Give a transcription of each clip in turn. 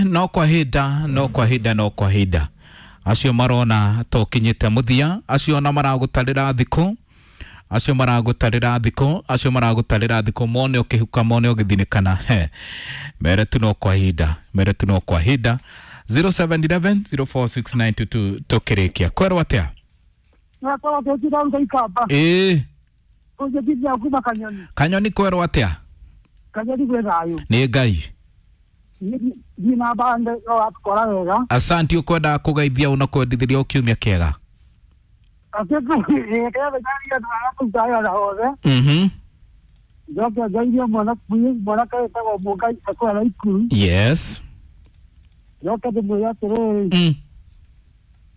No kwa hinda, no kwa hinda, no kwa hinda, acio marona tokinyite muthia, acio na maragutarira thiku, acio maragutarira thiku, acio maragutarira thiku, mone ukihuka, mone ugithinikana, mere tu no kwa hinda, mere tu no kwa hinda. 0711 046922 tukirikia kwerwo atia? Ĩĩ. Kanyoni, kwerwo atia? Kanyoni gwĩ thayũ. Nĩ Ngai. Thiĩ na mbande no wakora wega. Asanti. Ukwendaga kũgeithia una kwendithĩria o kiumia kĩega? Othe. Njoke ngeithie mwanake wĩtagwo Mũngai akũrĩa Ikuru. Njoke ndĩmwĩre atĩrĩrĩ,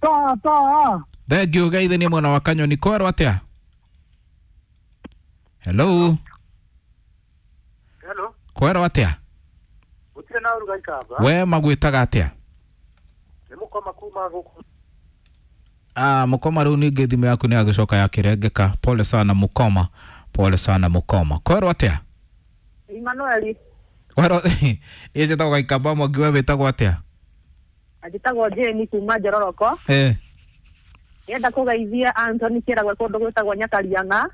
toa toa. Thengiũ, geithanie mwena wa Kanyoni. Kwerwo atia? Hello. Hello. Kwerwo atia? Gũtirĩ na ũruga Ikamba. We magwĩtaga atĩa? Nĩ mũkoma kuma gũkũ. Ah, Mũkoma, rĩu ningĩ thimũ yaku nĩ yagĩcoka yakĩrengeka. Pole sana Mũkoma, pole sana Mũkoma. Kwerwo atĩa? Emmanuel. Kwerwo, niĩ njĩtagwo Gaikamba Mwangi, we wĩtagwo atĩa? Njĩtagwo Jane kuma Njororoko. Ndĩrenda kũgeithia Anthony Kĩragwe kũndũ gwĩtagwo Nyakariang'a,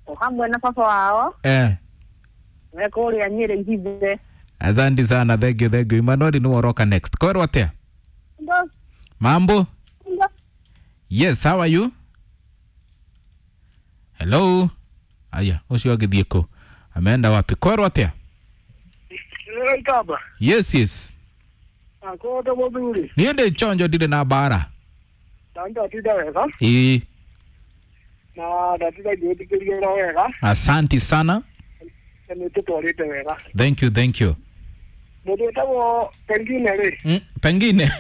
o hamwe na baba wao me kũrĩa Nyĩrĩ Ihithe. Asante sana, thank you, thank you. Emmanuel nĩ waroka next. Kwerwo atĩa? Mambo? Yes, how are you? Hello. Aya, ũcio agĩthiĩ kũ? Ameenda wapi? Kwerwo atĩa? Nĩ Ikamba. Yes. Akondo mũthuri. Niĩ ndĩ chonjo, ndirĩ na mbara. Na ndatinda wega. Ĩĩ. Na ndatinda ngĩthikĩrĩria ro wega. Asanti sana. Na nĩ tũtwarĩte wega. Thank you, thank you. Mũndũ wĩtagwo Pengine rĩ. Pengine.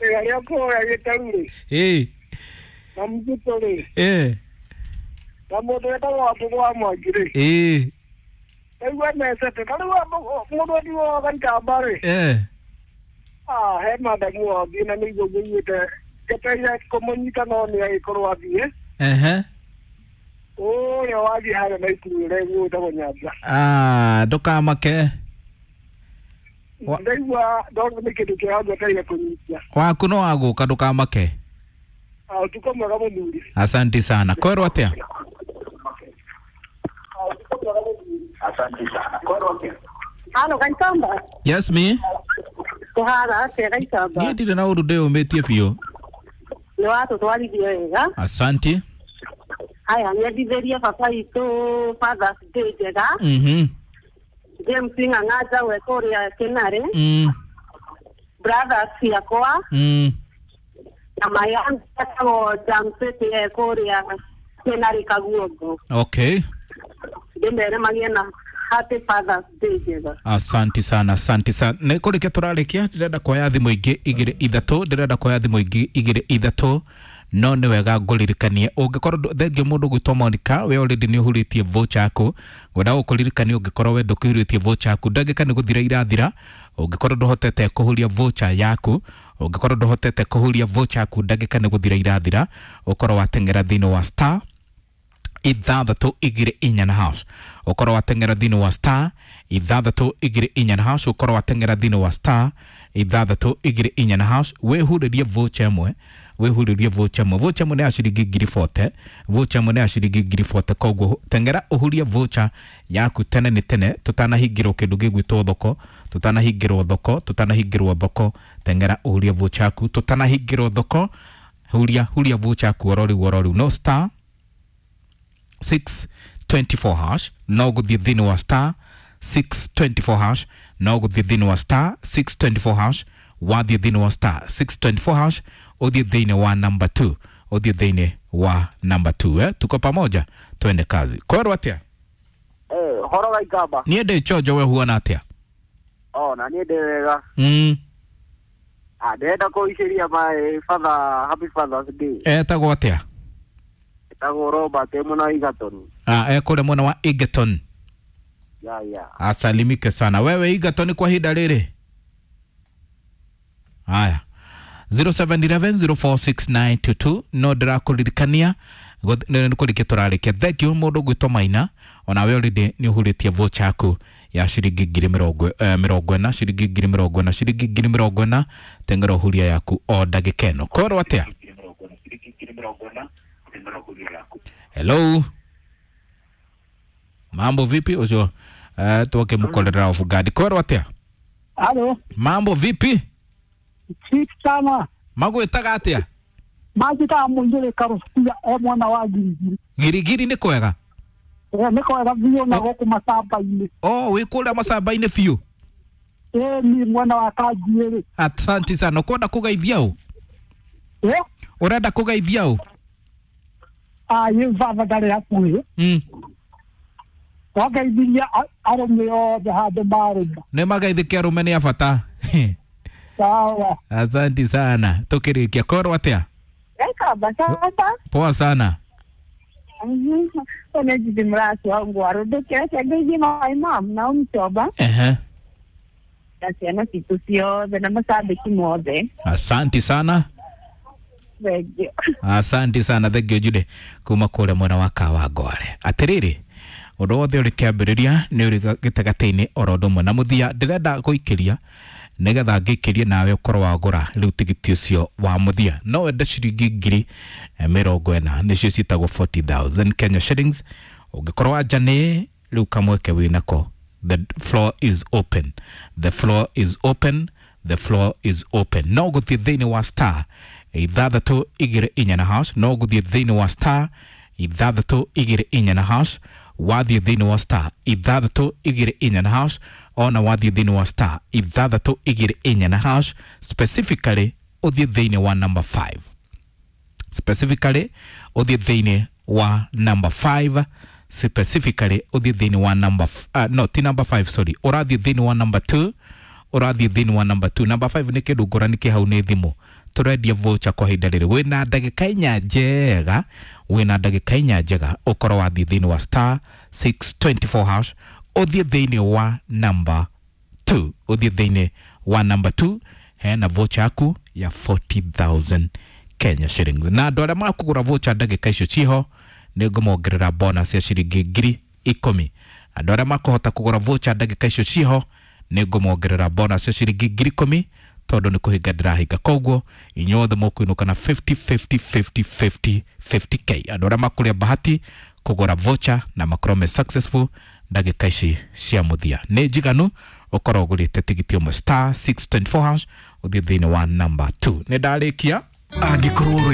Arĩa kũrĩa gĩtaru rĩ. Na Mzito rĩ. Na mũndũ wĩtagwo Wambũgũ wa Mwangi rĩ. Ndaigua mecete. Ta rĩu mũndũ wendiwo Gaikamba rĩ. Ah, he madamu wathiĩ na nĩguo ngũiguĩte njetereire kũmũnyita no nĩ agĩkorwo athiĩ. Ũrĩa wathiĩ harĩa na ikuru ũrĩa gwĩtagwo Nyanja. Ah, ndũkamake. Ndaigua ndona nĩ kĩndũ kĩega ngwetereire kũnyitia. Waku no wagũka, ndũkamake. Ah, ũtukũ mwega mũthuri. Asanti sana. Kwerwo atĩa? Ah, ũtukũ mwega mũthuri. Halo Gaikamba. Yes me. Kũhana atĩa Gaikamba? Niĩ ndirĩ na ũru, ndĩyũmĩtie biũ. Nĩ watũtwarithia wega. Asanti. Haya, nyendithĩrie baba witũ Father's Day njega. James Ng'ang'a Njaũ e kũrĩa Kĩnarĩ. Brothers ciakwa na my aunt etagwo Jamseti e kũrĩa Kĩnarĩ Kaguongo. Ndĩmere magĩe na happy Father's Day njega. Asanti sana, asanti sana. Nä kå rä kia tå rarä kia, ndärenda kuoya thimå ingä igä ithatå, ndärenda kuoya thimå ingä igä ithatå, no nä wega ngåririkanie å ngä korwo thengio må ndå gwä Monica, we already nä å hurä tie voucher yaku. Ngwenda gå kå ririkania, å ngä korwo we ndå kä hurä tie voucher yaku, ndagä ka nä gå thira irathira. Å ngä korwo ndå hotete kå huria voucher yaku, å ngä korwo ndå hotete kå huria voucher yaku, ndagä ka nä gå thira irathira, å korwo wateng'era thä inä wa star 624 na hash, ũkorwo wateng'era thĩinĩ wa star 624 na hash, ũkorwo wateng'era thĩinĩ wa star 624 na hash, wĩhurĩrie voucher ĩmwe, wĩhurĩrie voucher ĩmwe. Voucher ĩmwe nĩ ya ciringi 40,000, voucher ĩmwe nĩ ya ciringi 40,000. Koguo teng'era ũhurie voucher yaku tene nĩ tene, tũtanahingĩrwo kĩndũ gĩgwĩtwo thoko, tũtanahingĩrwo thoko, tũtanahingĩrwo thoko. Teng'era ũhurie voucher yaku tũtanahingĩrwo thoko. Huria, huria voucher yaku oro rĩu, oro rĩu. No star 624 hash, no gũthiĩ thĩinĩ wa star 624 hash, no gũthiĩ thĩinĩ wa star 624 hash. Wathiĩ thĩinĩ wa star 624 hash, ũthiĩ thĩinĩ wa number 2, ũthiĩ thĩinĩ wa number 2. Eh? Tuko pamoja, twende kazi. Kwerwo atĩa? Eh, horo Gaikamba. Niĩ ndĩ chonjo, we huana atĩa? O na niĩ ndĩ wega. Ah, ndĩrenda kũicĩria my father happy Father's Day. Etagwo atĩa? Etagwo Robert e mwena wa Egerton. Ah, ekũrĩa mwena wa Egerton. Ya. Asalimike sana wewe Egerton kwa ihinda rĩrĩ. Haya, 0711046922, no ndĩrakũririkania nĩ kũrĩkia tũrarĩkia. Thank you mũndũ gwĩtwo Maina, onawe already nĩ ũhurĩtie voucher yaku. Ya ciringi 40,000, ciringi 40,000, ciringi 40,000. Teng'era ũhuria yaku o ndagĩka ĩno. Korwo atĩa? Hello, mambo vipi? Ũcio twakĩmũkorera off guard. Korwo atĩa? Halo. Mambo vipi? Fiti sana. Magwĩtaga atĩa? Manjĩtaga Mũiyũrĩ Karũbia e mwana wa Girigiri. Girigiri nĩ kwega? Nĩ kwega biũ na gũkũ macamba-inĩ. Oh, wĩ kũrĩa macamba-inĩ biũ? Ĩĩ ni mwena wa Kanjiĩrĩ. Asante sana. Ũkwenda kũgeithia ũ? Ũrenda kũgeithia ũ? Ĩ baba ndarĩ hakuhĩ. Twageithirie arũme othe handũ marũma. Nĩ mageithĩke, arũme nĩ a bata. Sawa. Asante sana. Tukĩrĩkia, korwo atĩa? Ekaba sasa. Poa sana. Onejithi mrasi wangu warũndũkĩte ngeithie my mom na ũmcoba na ciana citũ ciothe na macambĩki mothe. Asante sana. Thengio. Asante sana, thengio Jude kuma kũrĩa mwena wa Kawangware. Atĩrĩrĩ, ũndũ wothe ũrĩ kĩambĩrĩria nĩ ũrĩ gĩtagatĩ-inĩ oro ũndũ ũmwe na mũthia. Ndĩrenda gũikĩria nĩgetha ngĩikĩrie nawe ũkorwo wagũra rĩu tigiti ũcio wa mũthia. No wende ciringi 40,000, nĩcio ciĩtagwo 40,000 Kenya shillings. Ũngĩkorwo wanja nĩ rĩu kamweke wĩnako. The floor is open, the floor is open, the floor is open. No gũthiĩ thĩinĩ wa star 624 na hash. No gũthiĩ thĩinĩ wa star 624 na hash. Wathiĩ thĩinĩ wa star 624 na hash, ona wathiĩ thĩinĩ wa star 624 na hash, specifically ũthiĩ thĩinĩ wa number 5, specifically ũthiĩ thĩinĩ wa number 5, specifically ũthiĩ thĩinĩ wa number no ti number 5, sorry, ũrathiĩ thĩinĩ wa number 2, ũrathiĩ thĩinĩ wa number 2. Number 5 nĩ kĩndũ ngũrani kĩ hau, nĩ thimũ. Tũrendia voucher kwa ihinda rĩrĩ. Wĩna ndagĩka 4 njega, wĩna ndagĩka 4 njega ũkorwo wathiĩ thĩinĩ wa star 624 hash, ũthiĩ thĩinĩ wa number 2, ũthiĩ thĩinĩ wa number 2, hena voucher yaku ya 40,000 Kenya shillings. Na andũ arĩa makũgũra voucher ndagĩka icio ciho, nĩ ngũmongerera bonus ya ciringi 10,000. Andũ arĩa makũhota kũgũra voucher ndagĩka icio ciho, nĩ ngũmongerera bonus ya ciringi 10,000, tondũ nĩ kũhinga ndĩrahinga. Koguo inyuothe mũkũinũka na 50 50 50 50 50K, andũ arĩa makũrĩa bahati kũgũra voucher na makorwo me successful ndagĩka ici cia mũthia. Nĩ njiganu ũkorwo ũgũrĩte tigiti ũmwe, star 624 hash, ũthiĩ thĩinĩ wa number 2. Nĩ ndarĩkia. Angĩkorwo.